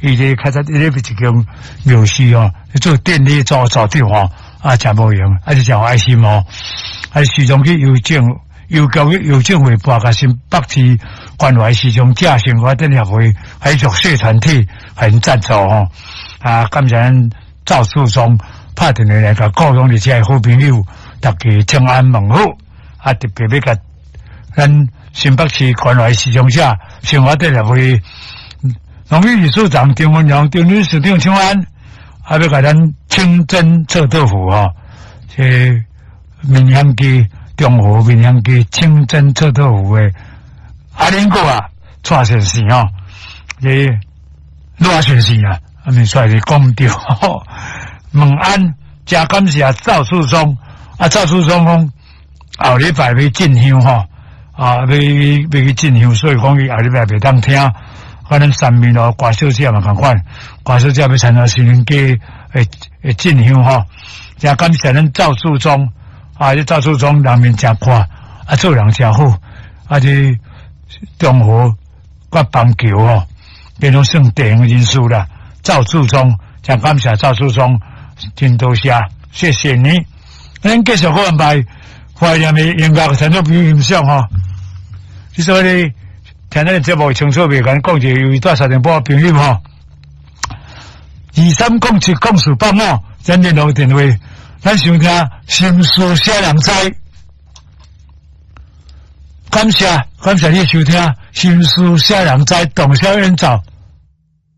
伊這較早伊咧一間廟司吼，做電力組組長吼，啊，誠無閒，啊，就誠有愛心哦，啊，時常去郵政郵局郵政會撥共新北市關懷時尚者生活電協會，還有弱勢團體，予𪜶贊助吼，啊，感謝咱趙樹忠拍電話來共故鄉佇遮的好朋友，大家請安問好，啊，特別欲共咱新北市關懷時尚者生活電協會榮譽理事長張文榮張理事長請安，啊，欲共咱清真臭豆腐吼，這民雄區中和民雄區清真臭豆腐的阿林哥啊，蔡先生吼，這賴先生啊，啊，面煞是講毋著，問安，誠感謝趙樹忠，啊，趙樹忠講後禮拜欲進香吼，啊，欲去進香，所以講伊後禮拜袂當聽。反正三面咯，郭小姐嘛仝款，郭小姐欲參加新年假會進香吼，誠感謝咱趙樹忠，啊，這趙樹忠人面誠闊，啊，做人誠好，啊，這中和佮邦橋吼，變做算地方人士啦。趙樹忠，誠感謝趙樹忠，真多謝，謝謝你。咱繼續閣安排懷念的音樂，聽眾朋友欣賞吼。你說你聽咱的節目清楚袂？共講一个，有蹛三點半朋友吼，23070485，咱聯絡電話，咱收聽心事啥人知？感謝感謝你的收聽，心事啥人知？董瀟演奏。